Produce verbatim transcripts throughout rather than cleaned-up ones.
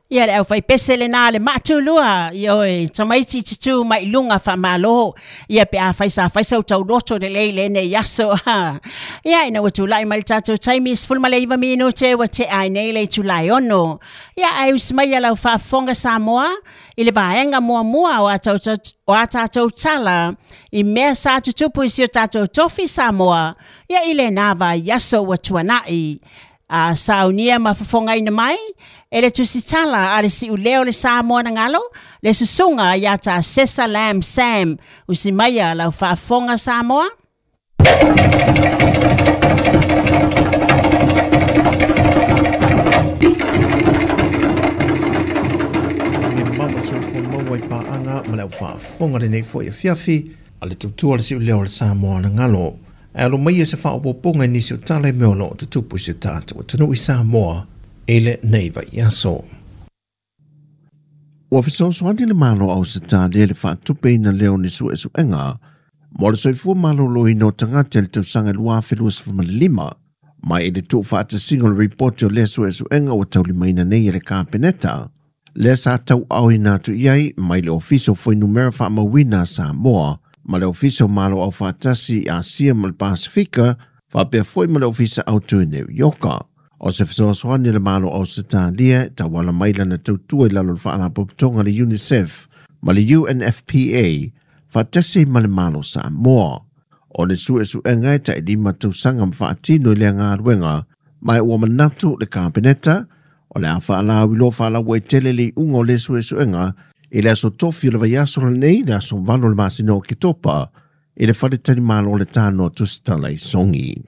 Ia le aufaipese lena le maatulua ia oe tamaiti tutu mai lunga faamalo ia pe afai sa fai sau tauloto lelei lenei aso. Ia ina ua tulai mai le tatou taimi sefulu ma le iva minute ua tea ai nei le itula e ono. Ia ae usi mai ia lau faafofoga Samoa i le vaega muamua o a o a tatou tala i mea sa tutupu i si o tatou tofi Samoa ia i lena vaiaso ua tuanai. A saunia ma fofogaina mai e le tusitala a le siuleo le Samoa na galo le susuga ia ta Sesa Lam Sam usimaia lau faafofoga Samoa. Mama soifua maua i paaga ma le aufaafofoga lenei foi afiafi a le tautua le siuleo le Samoa na galo. E alo mai e se faaopoopoga i nisi o tala i mea o loo tutupu i se tatou atunuu i Samoa e le nei vaiaso. Ua fesoasoani le Malo o Ausetalia i le faatupeina lea o ni suesuega mo le soifua maloloina o tagata i le tausaga lua afe luasefulu ma le lima mai i le tuufaatasiga o le ripoti o lea suesuega ua taulimaina nei e le Kapeneta. Lea sa tauaoina atu i ai mai le Ofisa o Fuainumera Faamauina a Samoa ma le Ofisa o Malo Aufaatasi i Asia ma le Pasifika faapea foi ma le Ofisa Autu i New Yorka. O se fesoasoani le Malo o Ausetalia tauala mai lana tautua i lalo o le faalapotopotoga le UNICEF ma le U N F P A faatasi ma le Malo Samoa. O le suesuega e tailima tausaga ma faatino i lea galuega ma ua manatu le Kapeneta o le a faalauiloa faalauaitele le iuga o le suesuega i le aso tofi o le vaiaso lenei le aso valo o le masina o Oketopa i le faletalimalo o le tanoa tusitala i Sogi.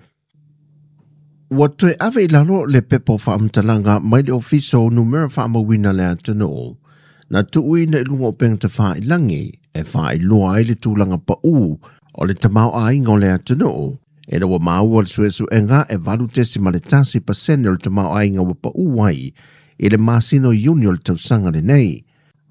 Ua toe ave i lalo le pepa o faamatalaga mai le Ofisa o Numera Faamauina le atunuu na tuuina i luga o upega tafailagi e faailoa ai le tulaga pau o le tamaoaiga o le atunuu e ua maua le suesuega e valu tesima le tasi pasene o le tamaoaiga ua pau ai i le masina o Iuni o le tausaga lenei.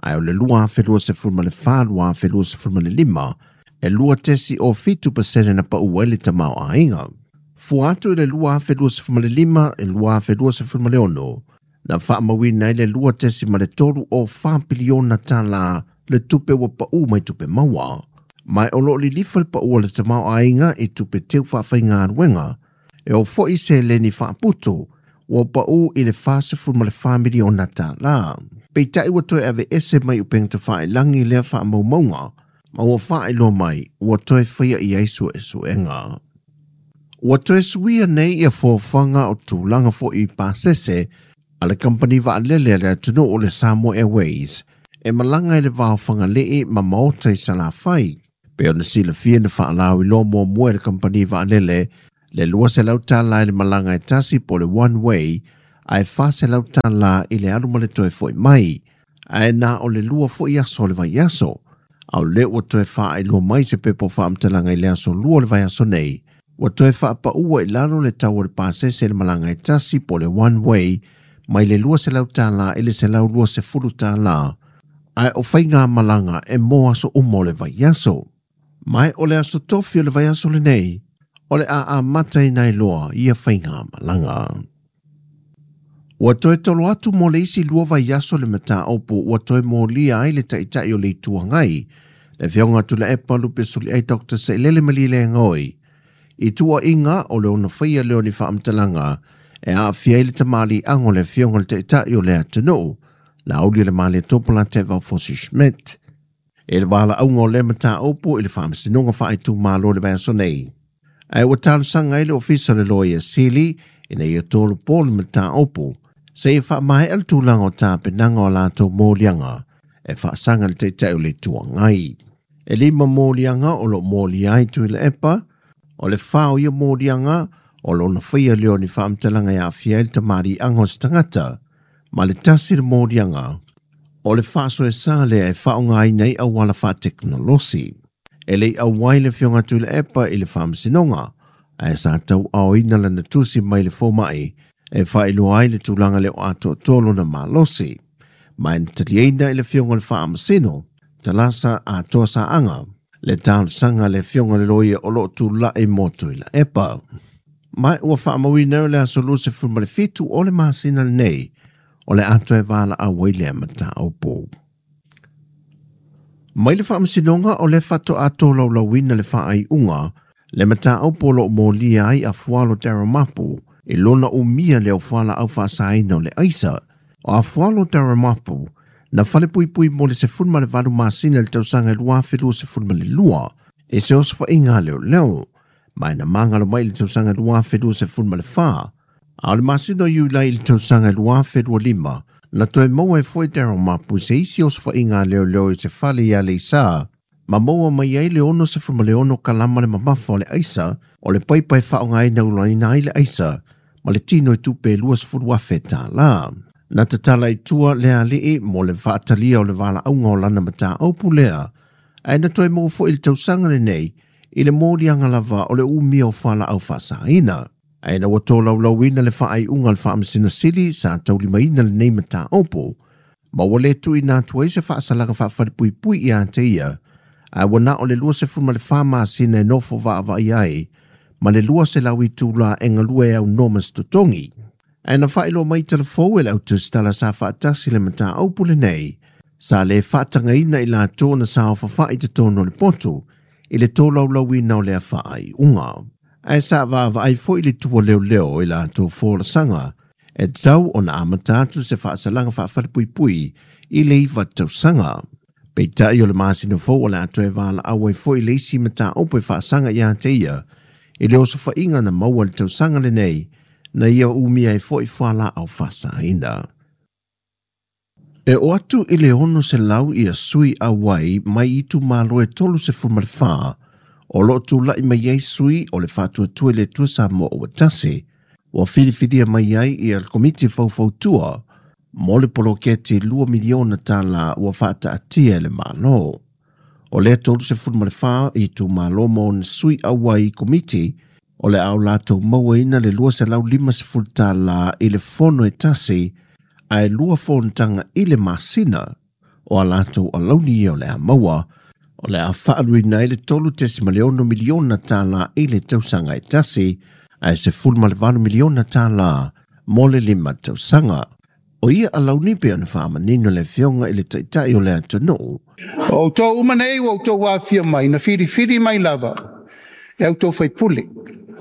Ae o le lua afe luasefulu ma le fa lua afe luasefulu ma le lima e lua tesi o fitu pasene na pau ai le tamaoaiga. Fua atu i le lua afe luasefulu ma le lima e lua afe luasefulu ma le ono na faamauina ai le lua tesi ma le tolu o fa piliona tala le tupe ua pau mai tupe maua. Mai o loo lilifa le pau o le tamaoaiga i tupe teu faafaigaluega e o foi seleni faaputu ua pau i le fasefulu ma le fa miliona tala. Peitai ua toe ave ese mai upega tafailagi lea faamaumauga ma ua faailoa mai ua toe faia i ai suesuega. Ua toe suia nei ia foafoaga o tulaga foi i pasese a le kampani vaalele a le atunuu o le Samoa Airways e malaga i le vao Fagalii ma maota i Salafai. Pe ona silafia na faalauiloa muamua e le kampani vaalele le lua selau tala i le malaga e tasi po le one way ae fa selau tala i le alu ma le toe foi mai ae na o le lua foi aso o le vaiaso. A o le ua toe faailoa mai se pepa o faamatalaga i le aso lua o le vaiaso nei ua toe faapaua i lalo le tau o le pasese i le malaga e tasi po le one way mai le lua selau tala i le selau lua sefulu tala ae o faiga malaga e mo aso uma o le vaiaso. Mai o le aso tofi o le vaiaso lenei o le a amata i nai loa ia faiga malaga. Ua toe tolo atu mo le isi lua vaiaso le mataupu ua toe molia ai le taitai o le Itu Agai le Afioga Tuilaepa Lupesoliai Doctor Sailele Malielegaoi i tuuaiga o le ona faia lea o ni faamatalaga e aafia ai le tamaliiaga o le Afioga i le Taitai o le atunuu Laauli o le Malietoa Lateva Fosi Schmidt. E le valaauga o lea mataupu i le faamasinoga faaitumalo le vaiaso nei. Ae ua talosaga ai le Ofisa o le Loia Sili ina ia tolopo le mataupu seia faamaea le tulaga o tapenaga o latou moliaga e faasaga le Taitai o le Itu Agai. E lima moliaga o loo molia ai Tuilaepa o le fa o ia moliaga o lona faia lea o ni faamatalaga e aafia ai le tamaliiaga o se tagata ma le tasi le moliaga o le faasoesa lea e faaaogaina ai auala faatekonolosi. E lei auai le Afioga Tuilaepa i le faamasinoga ae sa tauaoina lana tusi mai le fomai e faailoa ai le tulaga lea o atoatoa lona malosi. Ma e na taliaina i le Afioga i le Faamasino Talasa Atoa Saaga le talosaga le Afioga i le Loia o loo tulai mo Tuilaepa. Mai ua faamauina o le aso luasefulu ma le fitu o le masina lenei O le atoe valaau ai lea mataupu. Mai le faamasinoga o le faatoa laulauina le faaiuga le mataupu o loo molia ai Afualo Darryl Mapu i lona umia le o fualaau faasaina o le aisa. O Afualo Darryl Mapu na falepuipui mo le sefulu ma le valu masina le tausaga e lua afe lua sefulu ma le lua e se osofaiga leoleo mai na magalo mai le tausaga e lua afe lua sefulu ma le fa. A o le masina o Iulai i le tausaga e lua afe lua lima na toe maua e foi Darryl Mapu se isi osofaiga leoleo i se fale ia Leisa ma maua mai ai le ono sefulu ma le ono kalama le mamafa o le aisa o le paipai faaaogaina ulaina ai le aisa ma le tino i tupe lua sefulu afe tālā. Na tatala i tua le alii mo le faatalia o le valaauga o lana mataupu lea ae na toe maua foi i le tausaga lenei i le moliaga lava o le umia o fualaau faasaina. Ae na ua tolaulauina le faaiuga o le faamasina sili sa taulimaina lenei mataupu ma ua le tuuina atu ai se faasalaga faafalepuipui ia te ia ae ua na o le lua sefulu ma le fa masina e nofo vaavaai ai ma le lua selau itula e galue au no ma se totogi. Ae na faailoa mai telefou e le autusitala sa faatasi le mataupu lenei sa le faatagaina i latou na saofafai totonu o le poto i le tolaulauina o lea faaiuga. Ae sa vaavaai foi le tua leoleo i latou folasaga e tatau ona amata atu se faasalaga faafalepuipui i le iva tausaga. Peitai o le masina fou o le atoe valaau ai foi le isi mataupu e faasaga ia te ia i le osofaiga na maua le tausaga lenei na ia umia ai foi fualaau faasaina. E o atu i le ono selau ia sui auai mai itumalo e tolu sefulu ma le fa o loo tula'i mai ai sui o le faatuatua i le Atua Samoa ua tasi ua filifilia mai ai ia le komiti faufautua mo le poloketi lua miliona tālā ua faataatia e le Malo. O lea tolu sefulu ma le fa itumalo ma ona sui auai i komiti o le ao latou mauaina le lua selau lima sefulu tālā i le fono e tasi ae lua fonotaga i le masina o a latou alauni ia o le a maua o le a faaluina ai le tolu tesima le ono miliona tālā i le tausaga e tasi ae sefulu ma le valu miliona tālā mo le lima tausaga. O ia alauni pe ona faamanino le afioga i le taitai o le atunuu. O outou uma nei ua outou afia mai na filifili mai lava e outou faipule,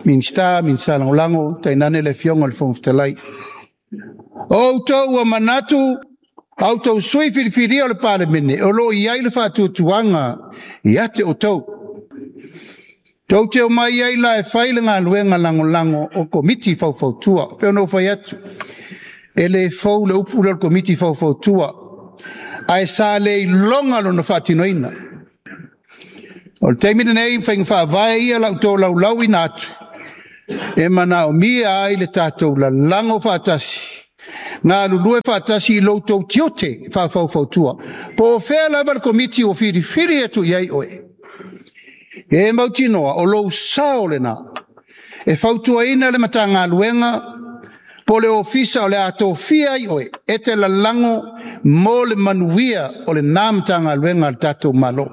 Minista, Minista Lagolago, tainane le afioga o le Fofoga Fetalai. O outou ua manatu a outou sui filifilia o le Palemene o loo i ai le faatuatuaga ia te outou. Tou te omai ai la e fai le galuega lagolago o komiti faufautua. Pe ona ou fai atu, e le fou le upu lea o le komiti faufautua, ae sa le iloga lona faatinoina. O le taimi lenei faiga faavae ia la outou laulauina atu, e manaomia ai le tatou lalago faatasi, galulue faatasi i lo outou tiute faafaufautua. Po o fea lava le komiti ua filifili atu i ai oe. E mautinoa o lou sao lena e fautuaina le Matagaluega po le ofisa o le a tofia ai oe e te lalago mo le manuia o lena Matagaluega a le tatou Malo.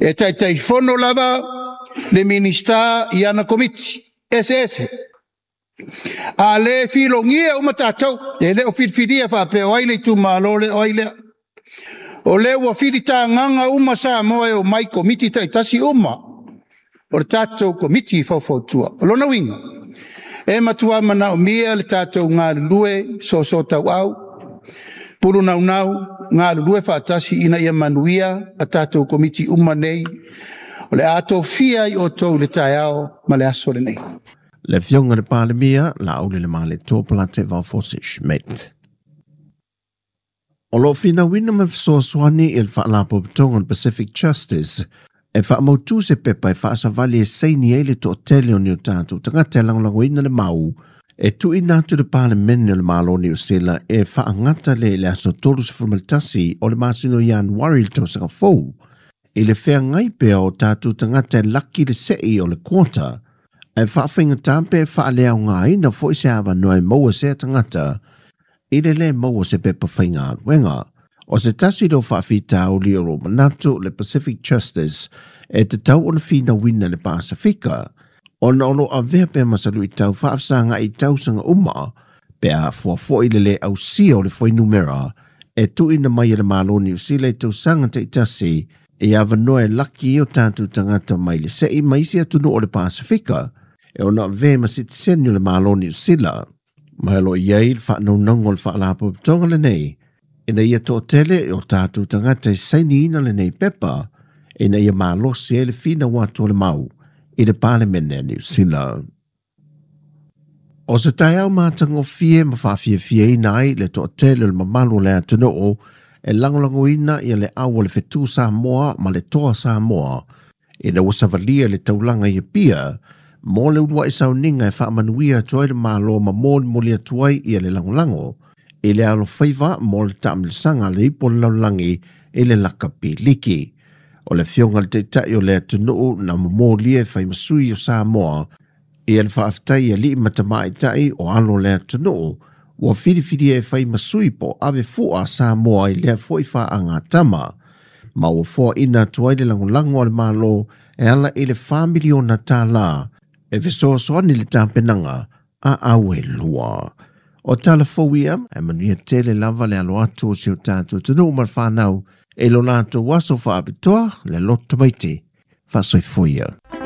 E taitaifono lava le Minista i ana komiti eseese. A le filogia uma tatou, e le o filifilia faapea o ai le itumalo le o ai lea. O lea ua filitagaga uma Samoa e o mai komiti taitasi uma o le tatou komiti faufautua. O lona uiga, e matua manaomia le tatou galulue soosoo tauau, pulu naunau, galulue faatasi ina ia manuia a tatou komiti uma nei. O le a tofia ai outou i le taeao ma le aso lenei. Le afioga le Palemia, Laaulialemalietoa Polataivao Fosi Schmidt. O loo finauina ma fesoasoani i le faalapotopotoga o le Pacific Justice e faamautu se pepa e faasavali e saini ai le toatele o ni o tatou tagata e lagolagoina le mau e tuuina atu le Palemene o le Malo o Niu Sila e faagata le le aso tolu sefulu ma le tasi o le masina o Ianuari le tausaga fou i le feagai pea o tatou tagata e laki le sei o le quota ae faafaigata pe faaleaogaina foi se avanoa e maua sea tagata i le lē maua se pepa faigaluega. O se tasi leo faafitauli o lo manatu le Pacific Justice e tatau ona finauina le Pasifika ona o lo avea pea masalu i tau faafesagai i tausaga uma Pe a fuafua'i le lē ausia o le fuainumera e tuuina mai e le Malo Niu Sila i tausaga taʻitasi e avanoa e laki ai o tatou tagata mai le seʻi ma isi atunuu o le Pasifika e ona avē ma sitiseni o le Malo Niu Sila. Ma e o loo i ai le faanaunauga o le faalapotopotoga lenei ina ia toʻatele o tatou tagata e sainiina lenei pepa ina ia malosi ai le finau atu o le mau i le Palemene a Niu Sila. O se taeao matagofie ma faafiafiaina ai le toʻatele o le mamalu o le atunuu e lagolagoina ia le au o le fetu Samoa ma le toa Samoa ina ua savalia le taulaga i Apia mo le uluaʻi sauniga e faamanuia atu ai le Malo ma molimoli atu ai ia le lagolago i le alofaiva mo le taamilosaga a le ipu o le lalolagi i le lakapi liki. O le afioga i le Taitai o le atunuu na momolia e faimasui o Samoa ia le faafetai i alii ma tamaitai o alo o le atunuu ua filifilia e faimasui po o ave fua a Samoa i lea foʻi faaagatama ma ua foaʻina atu ai le lagolago a le Malo e ala i le fa miliona tālā e fesoasoani i le tapenaga a au e lua. O tala fou ia e manuia tele lava le alo atu o si o tatou atunuu ma le whanau e lo latou aso faapitoa le loto maite. Faasoifua ia.